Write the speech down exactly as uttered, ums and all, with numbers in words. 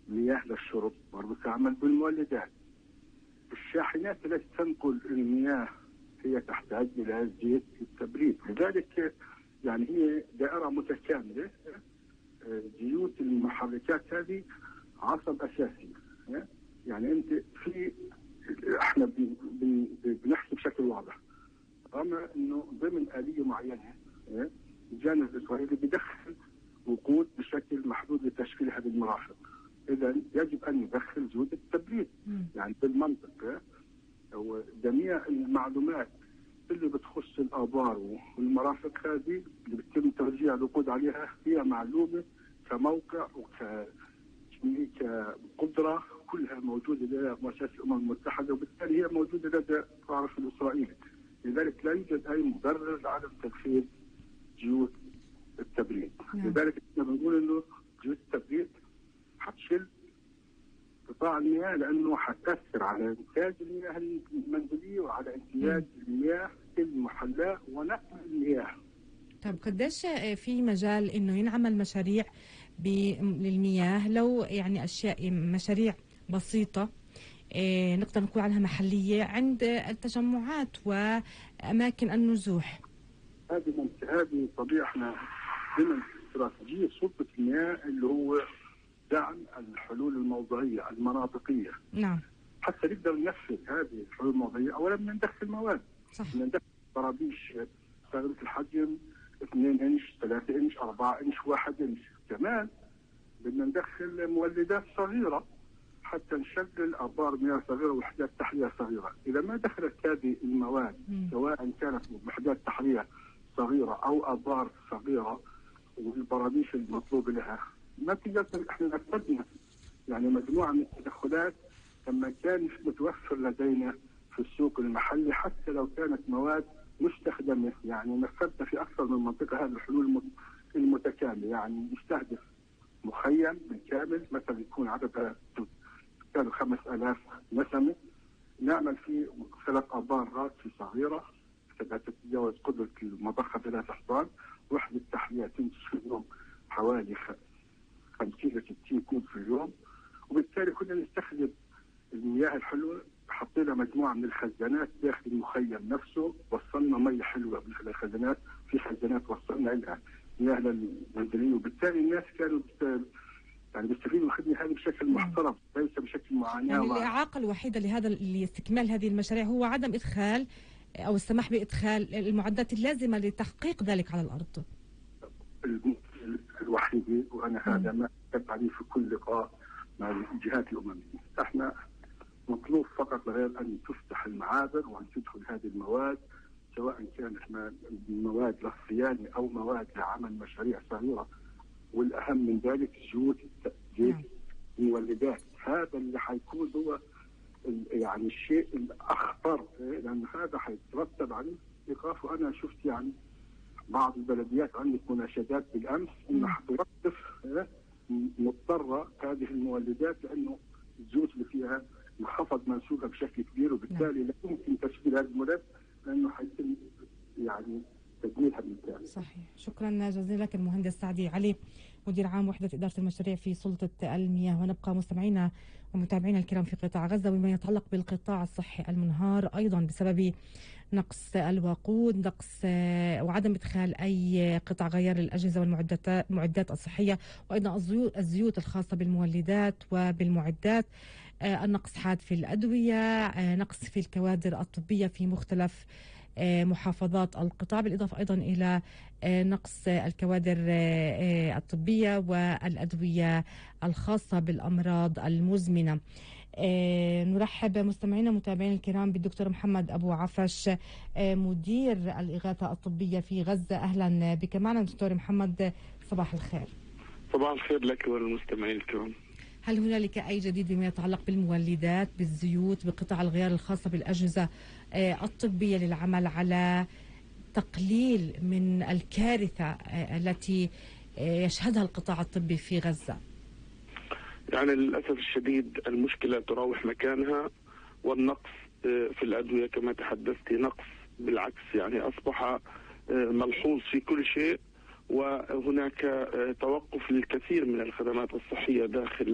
مياه للشرب برضه تعمل بالمولدات. الشاحنات التي تنقل المياه هي تحتاج إلى زيت للتبريد، لذلك يعني هي دائرة متكاملة. زيوت المحركات هذه عصب أساسي. يعني أنت في احنا بنحكي بشكل واضح، رغم انه ضمن آلية معينة الجانب الإسرائيلي بدخل وقود بشكل محدود لتشكيل هذه المرافق، إذا يجب أن يدخل جهود التبريد. يعني بالمنطق وجميع المعلومات اللي بتخص الآبار والمرافق هذه اللي بتم توزيع الوقود عليها هي معلومة كموقع وكقدرة كلها موجودة لدى مؤسسة الأمم المتحدة، وبالتالي هي موجودة لدى الطرف الإسرائيلي. لذلك لا يوجد أي مبرر لعدم تدخيل جيوت التبريد. نعم. لذلك احنا بنقول انه جيوت التبريد حتشل قطاع المياه، لانه حتأثر على انتاج المياه المنزلية وعلى امتياز المياه المحلاة ونقل المياه. طب قديش في مجال انه ينعمل مشاريع للمياه، لو يعني اشياء مشاريع بسيطة إيه نقدر نقول عنها محلية عند التجمعات واماكن النزوح؟ هذه هذه طبيعة احنا ضمن استراتيجية سلطة المياه اللي هو دعم الحلول الموضعية المناطقية. نعم. حتى نقدر ننفذ هذه الحلول الموضعية أولا بدنا ندخل مواد. صح. بدنا ندخل طرابيش صغيرة الحجم اثنين انش، ثلاثة انش، أربعة انش، واحد انش. كمان بدنا ندخل مولدات صغيرة حتى نشغل أبار مياه صغيرة ووحدات تحلية صغيرة. إذا ما دخلت هذه المواد م. سواء كانت وحدات تحلية صغيرة أو أبار صغيرة والبراميش المطلوب لها، ما تقدر. احنا نفذنا يعني مجموعة من التدخلات لما كان متوفر لدينا في السوق المحلي، حتى لو كانت مواد مستخدمة. يعني نفذنا في أكثر من منطقة هذه الحلول المتكاملة. يعني نستهدف مخيم بالكامل مثلا يكون عددها كانوا خمس آلاف نسمة، نعمل فيه ثلاث أبار راسي صغيرة تتجاوز قدرة المضخة ثلاث أحضان، وحدة تحلية تنتج في اليوم حوالي خمسين إلى ستين كوب في اليوم. وبالتالي كنا نستخدم المياه الحلوة، حطينا مجموعة من الخزانات داخل المخيم نفسه، وصلنا مياه حلوة من الخزانات، في خزانات وصلنا لها مياه للمنزلية، وبالتالي الناس كانوا يعني بيستفيدوا من الخدمة هذه بشكل محترم ليس بشكل معاناة. يعني الإعاقة الوحيدة لهذا لاستكمال هذه المشاريع هو عدم إدخال أو السماح بإدخال المعدات اللازمة لتحقيق ذلك على الأرض. الوحيدة، وأنا هذا ما أكتب عليه في كل لقاء مع الجهات الأممية، احنا مطلوب فقط غير أن تفتح المعابر وأن تدخل هذه المواد، سواء كانت مواد للصيانة أو مواد لعمل مشاريع صغيرة، والأهم من ذلك جهود زيت المولدات. هذا اللي حيكون هو يعني الشيء الأخطر، لأن هذا حيترتب عليه إيقاف. وأنا شفت يعني بعض البلديات عندك مناشدات بالأمس إنها حتوقف مضطرة هذه المولدات، لأنه الزيوت اللي فيها انخفض منسوبها بشكل كبير، وبالتالي لا يمكن تشغيل هذه المولد لأنه حيتم يعني تدميرها بالكامل. صحيح. شكرا جزيلا لك المهندس سعدي علي، مدير عام وحدة إدارة المشاريع في سلطة المياه. ونبقى مستمعينا ومتابعينا الكرام في قطاع غزة وما يتعلق بالقطاع الصحي المنهار أيضا بسبب نقص الوقود، نقص وعدم إدخال أي قطع غيار الأجهزة والمعدات المعدات الصحية، وأيضا الزيوت الخاصة بالمولدات وبالمعدات. النقص حاد في الأدوية، نقص في الكوادر الطبية في مختلف محافظات القطاع، بالإضافة أيضا إلى نقص الكوادر الطبية والأدوية الخاصة بالأمراض المزمنة. نرحب مستمعينا متابعين الكرام بالدكتور محمد أبو عفش، مدير الإغاثة الطبية في غزة. أهلا بك معنا دكتور محمد، صباح الخير. صباح الخير لك وللمستمعين الكرام. هل هنالك أي جديد بما يتعلق بالمولدات، بالزيوت، بقطع الغيار الخاصة بالأجهزة الطبية للعمل على تقليل من الكارثة التي يشهدها القطاع الطبي في غزة؟ يعني للأسف الشديد المشكلة تراوح مكانها، والنقص في الأدوية كما تحدثت نقص بالعكس، يعني أصبح ملحوظ في كل شيء، وهناك توقف للكثير من الخدمات الصحية داخل